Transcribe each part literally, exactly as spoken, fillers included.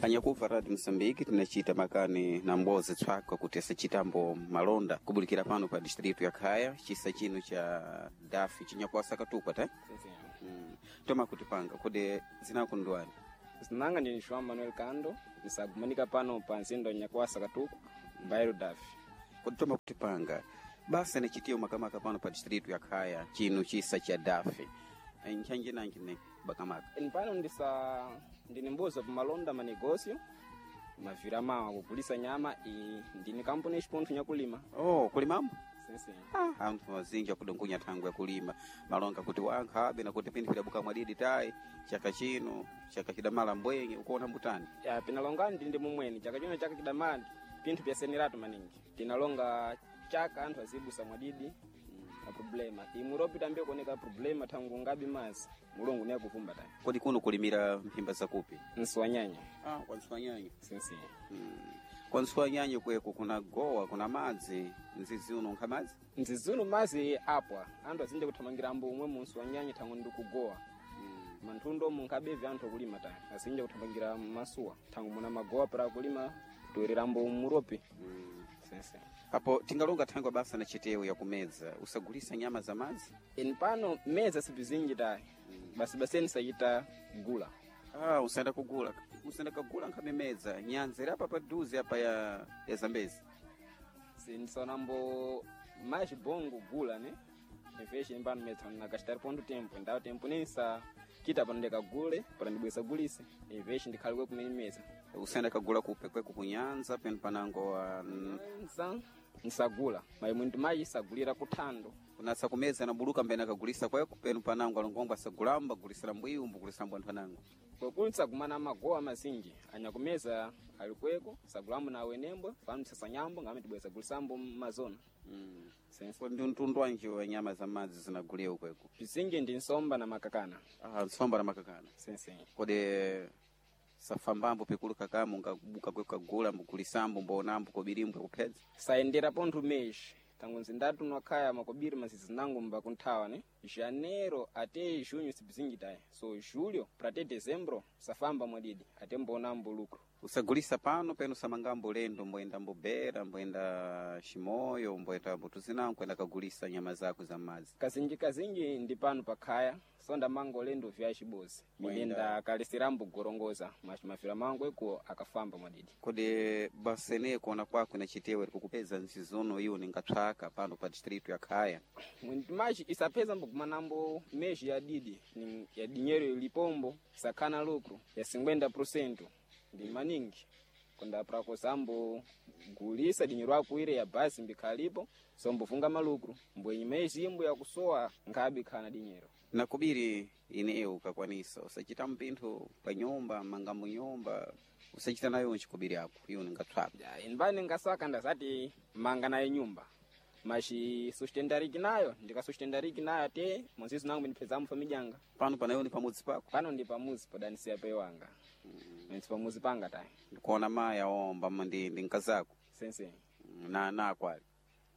Anyakuva Radio Msambiki tinachita makani na mbozi tswaka kuti asachitambo malonda kubulikira pano pa distritu ya Khaya chisa chino cha Dafi chinyakuwasa katukwa ta mm. Toma kutipanga kodi zinako ndwani Zinanga ndini João Manuel Kando nisagumanika pano pa nzindo nyakuwasa katuku mbairo Dafi. Kodi toma kutipanga basa nachitiyo makamaka pano pa distritu ya Khaya chino chisa cha Dafi nchanji nanji ne bakamaka Eni pano ndisa ndini mbuzo pamalonda manegosio mavira mawa kugulisa nyama i ndini kampuni yacipontho nyakulima oh kulimambo sinsi Ah, anthu azinji akudongonya thangwe yakulima malonga kuti wankha abe nakuti pinthu pidabuka mwadidi tayi chaka chino chaka chidamala mbwenye ukuona mbutani ya pinalonga ndindi mumweni chaka chino chaka chidamala pinthu pyaseneratu maningi tinalonga chaka anthu azibusa mwadidi a problema imuropi tambe kuoneka problema thangu ngabi mazi mulungu niye akuvumba tani kodi kuno kulimira mphimba zakupi nsiwanyanya ah, kwa nsiwanyanya sinsi mm. kwa nsiwanyanya kweko kuna gowa kuna madzi nzizi uno nkha madzi nzizuno mazi apwa anthu azinja kuthamangira ambo umwe munsi wanyanya thangu ndikugowa mm. manthundo munkabevi anthu akulima tani azinja kuthamangira masuwa thangu muna magowa para kulima toerera ambo muropi mm. sinsi apo tingalonga thangwe basa na chitewu yakumedza usagulisa nyama za madzi eni pano meza sipizinji tayi basi baseni sachita gula ah, usayenda kugula usayenda kagula nkhamemedza nyanza iri apa paduze apa ya, ya zambezi sindisanambo mais bongo gula ne inflation pano meza nakachitari ponto tempo ndawo tempo nensa kita pano ndikagule para ndibwesa gulise inflation ndikhalikwe kumene meza usayenda kagula kupe kweku kunyanza penu panango wa nsa nsagula maimwe ndimayi sagulira kuthando kunasa kumeza nabuluka mbene akagulisa kweko penu panango alongombo asagulamba agulisira mbwiyu mbugulisira mbwanthu anango kwekuli nsagumana magowa mazinji anyakumeza alikweko sagulambo na awenembwe fano msasanyambo ngame tibwesa gulisambo mazona mm. sense ndi mtundu wanji wa nyama za madzi zinaguliwa kweko pizinji ndi nsomba na makakana ah, nsomba na makakana sense kodi safambambo pikulu kakamu ngabuka kweko kagula mbugulisambo mbonambo kobirimbwe kuphedza sayendera pontho meshi tangu nzindatu nwakhaya makobiri mazizi nangu mba kunthawa ne janeiro ate junho sipizinji tayi so julho pra te dezembro safamba mwadidi ate mbonambo lucro usagulisa pano penu samangambo lendo mboenda mbobera mboenda ximoyo mboenda mbutuzinango kwenda kagulisa nyama zako za madzi kazinji kazinji ndi pano pakhaya sonda mango lendo vya cibozi milenda kalisirambo gorongoza mafira mangu eko akafamba mwadidi kodi basene kuona kwako na chitewe kukupeza nzizono iwo ningatsvaka pano pa distritu ya khaya mwintimachi isapeza mbokumanambo meji ya didi ni ya dinheiro ilipombo sakhana lucro ya cinquenta por cento ndi maningi kunda prakosambo gulisa dinheiro akuire ya basi mbikhalipo sombofunga malucro mbwenyi meji imbo yakusowa nkhabe khana dinheiro nakubiri ineyo ukakwanisa usachita mpinthu pa nyumba mangambo nyumba usachita nayo nchikubiri ako iwo ningatsvaka Ya, inbani ngasaka ndazati manga nayo nyumba machi sustentariki nayo ndikasustentariki nayo ate monzizo nangu ndipezamo famijanga pano panayo ni pamudzi pako pano ndi pamuzi podanisiya pewanga mm. pamuzi panga tayi ndikuona maya omba ndi ndi nkazako sense na nakwali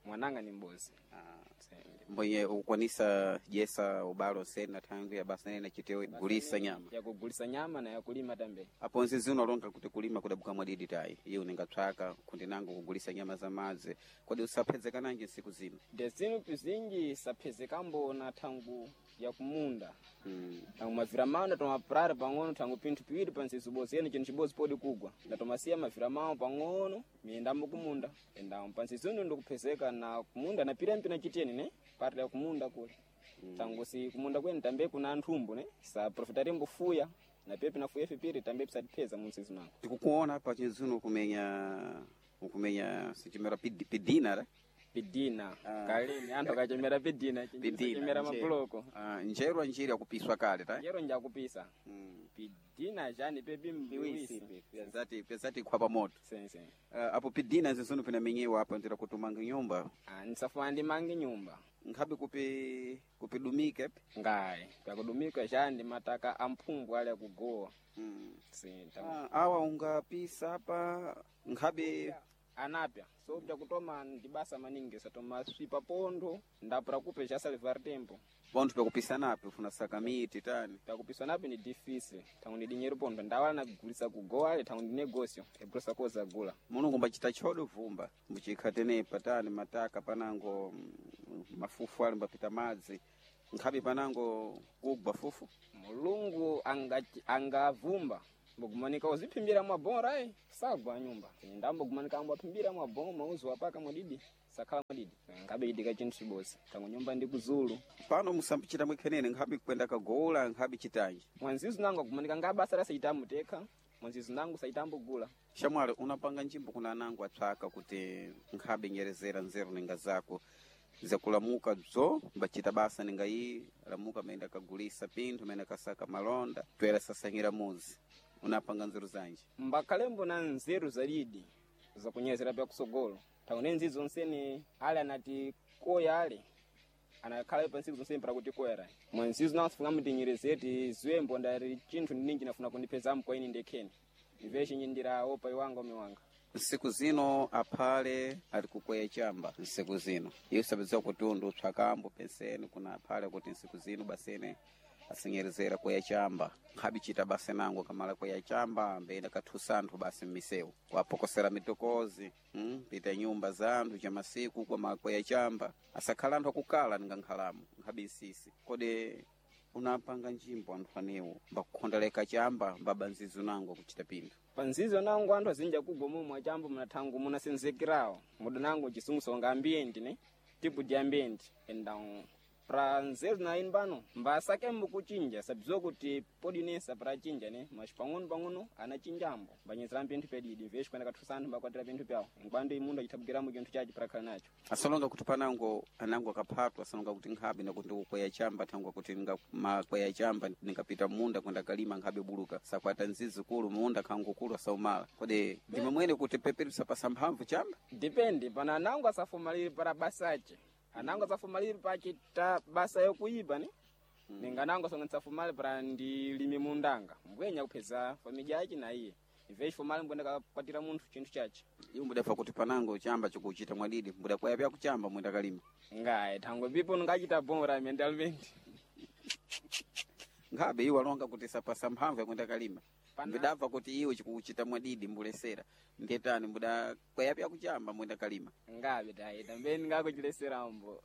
mwananga ni mbozi ah. Se- mbwenye ukwanisa jesa ubalo sena thangwi ya basa nene chitewe gulisa nyama yakugulisa nyama na yakulima tambe apo nzizi unalonga kuti kulima kudabuka mwadidi tayi iye uningatsvaka kundi nango kugulisa nyama za madzi kodi usaphezekananji nsiku zino ndezinu pizinji saphezekambo na thangu yakumunda mm. thangu mavira mawo ndatomapurara pang'ono thangu pinthu piwiri pa nzizi bozi ene chinthu chibozi podi kugwa ndatomasiya mavira mawo pang'ono miyendambo kumunda endamo pa nzizi uno ndikuphezeka na kumunda napira mpina chiteni ne pati ya kumunda kule mm. thangu si kumunda kwene tambe kuna anthumbu ne sa profitarimbo fuya na pia pinafuya fipiri tambe pisatipheza mu nzizi mango tikukuona apa chinzino ukumenya ukumenya sichimera pid- pidina ra pidina Ah. kalini anthu akachemera pidina Pidina, chemera nje. mabuloko Ah, njerwa njiri yakupiswa kale ta njero njakupisa mm. pidina chani pepi mbiwisi pyazati pyazati khwapa moto sense uh, apo pidina zinzino pinamenyewa apa ndira kutumanga nyumba Ah, nisafuna ndimange nyumba nkhabe kupi kupidumike ngayi pakudumika chani mataka amphumbu ali akugowa mm. Si, ta- ah, awa ungapisa apa nkhabe anapya so bzakutoma ndi basa maningi satoma swipa pontho ndapura kupe cha salivar tempo Pontho pakupisanapi ufuna saka miti tani. Pakupiswa napi ni difícil. Tangu ni dinheiro pontho ndawala nagulisa kugowa ale tangu ndi negócio ebulosa koza gula. Mulungu mbachita chodo vumba mbuchikhatenepa tani mataka panango mm, mafufu ali mbapita madzi nkhabe panango kugwa fufu. Mulungu anga- angavumba mbogumanika uziphimbira mwabora eh sagwa nyumba ndambogumanika ambo aphimbira mwaboma mauzo apaka mwadidi sakhala mwadidi ngabe itika chinthu chibozi tangu nyumba ndi kuzulu. Pano musambichita mwikhenene nkhabe kwenda kagola nkhabe chitanji. Mwanzizu nangu agumanika nga basa la saitambo tekha mwanzizu nangu saitambo gula. Shamwali unapanga njimbo kuna anangu atswaka kuti nkhabe nyerezera nzeru ninga zako zakulamuka bzo mbachita basa ninga iyi lamuka maenda kagulisa pinthu maenda kasaka malonda twera sasanyira muzi unapanga nzeru zanji. Mbakhalembo na nzeru zalidi zakunyezera pya kusogolo tangu ne nzizo onsene ale anati koya ale anakhala pa ntsiku zonsene para kuti koyera mwanzizo nangu sifuna mutinyerezeti ziwembo ndari chinthu ninji nafuna kundipezamo kwa ine ndekheni imve chinyindira opa iwanga umiwanga. Nsiku zino aphale ali kukweya chamba nsiku zino iwo sapedziwa kuti undu utswakambo penseni kuna aphale kuti nsiku zino basene asinyerezera kweya chamba nkhabe chita basa nango kamala kweya chamba mbeyenda kathusa anthu basi mmisewu kuwapokosera mitokozi mm, pita nyumba za anthu cha masiku kwa kweya chamba asakhala anthu akukala ninga nkhalamo nkhabe nsisi. Kodi unapanga njimbo anthu anewo mbakukhondoleka chamba mbaba nzizo nango kuchita pinthu. Panzizo nangu anthu azinja kugwa momwe achambo munathangu munasenzekerawo muda nangu chisungu songa ambienti ne tipo de ambiente então pra nzeru na ine pano mbasakembo kuchinja sabziwa kuti podinesa pra chinja ne mas pang'ono pang'ono anachinjambo mbanyezera pinthu pedidi mveshi kwenda kathusa anthu mbakwatira pinthu pyawo nkwando imundu achithabukiramo chinthu chachi prakhala nacho. Asalonga kuti panango anango akaphatwa asalonga kuti nkhabe nakuti ndikukweya chamba thangwa kuti nga makweya chamba ndingapita munda kwenda kalima nkhabe buluka sakwata nzizi kulu munda khangu kulu asaumala. Kodi ndimwe mwene kuti peperusa pasa mphamvu chamba. Depende pana anango asafumalire para basache anango asafumalire pachita basa yokuiba ne mm. Ninga anango asonga nsafumale para ndilime mundanga mbwenya kupheza familya yache na iye imve chifumale mbwenda kakwatira munthu chinthu chache. Iwo mbudafa kuti panango chamba chikuchita mwadidi mbudakweya pya kuchamba mwenda kalima. Ngayi thangwe pipo ngachita bora mentalmente. Nkhabe iwo alonga kuti sapasa mphamvu yakwenda kalima. Pana- Mbudabva kuti iwe chikuchita mwadidi mbulesera ndetani mbudakweya pya kuchamba mwenda kalima. Ngabe tayi tambeni ngakuchileserambo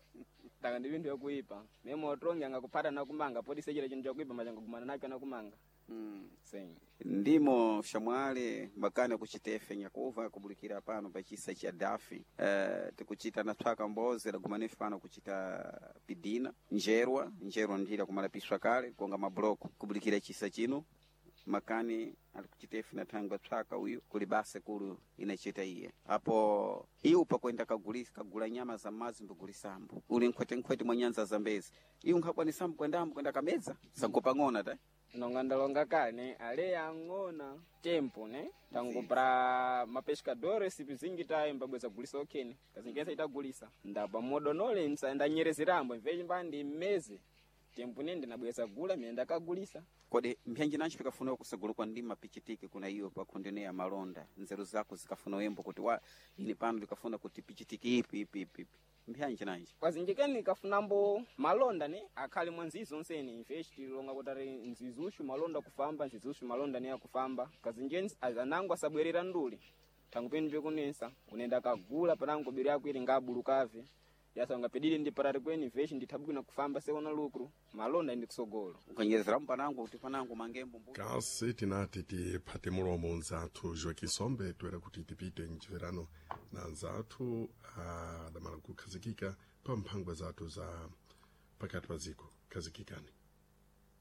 taka ndi pinthu yakuipa memo otongi angakuphata nakumanga poti sechera chinthu chakuipa machangagumana nacho anakumanga. Mm. Sim. Ndimo shamwale makani akuchitefe nyakuva kubulikira pano pachisa cha dafi uh, tikuchita na tswaka mbozi lagumanefe pano kuchita pidina njerwa njerwa ndila kumalapiswa kale konga mabloko kubulikira chisa chino makani alikuchitefe na thangwa tswaka uyu kuli basa kulu inachita iye apo iwu pakwenda kagulisa kagula nyama za mazi mbigulisambo uli nkhwetenkhwete mwa nyanza za mbezi iwu nkhakwanisambo kwendambo kwenda kamedza sankopang'ona ta. Nonga ndalonga kale ne ale ang'ona tempo ne tangu pra mapescadores pizingi tayi mbabweza gulisa okheni kazingensa itagulisa ndapa modonole msa ndanyerezerambo mvechi mbandi mmeze tempo ne ndinabweza gula mene ndakagulisa. Kodi mphenji nanji pikafuna kusagula kwa ndima pichitike kuna iyo pakhondene ya malonda nzeru zako zikafuna wembo kuti wa ine pano ndikafuna kuti pichitike ipi ipi ipi ipi mphanji nanji. Kwazinjikeni kafunambo malonda ne akhale mwa nzizo onsene imvechi tilonga kuti ari nzizushu malonda kufamba nzizushu malonda ne akufamba kazinjeni anango asabwerera nduli thangu penu pekunensa unenda kagula panango biri yako ili ngabulukave yasanga pedili ndi parari kweni vechi ndithabwina kufamba seona lucro malonda ndi kusogolo. Ukanyerezeramu panango kuti panango mangembo mbu Kasi tinati tiphate mulomo nzathu Joaquim Sombe toera kuti tipite mchimverano na nzathu adamala kukhazikika pa mphangwa zathu za pakati pa ziko khazikikani.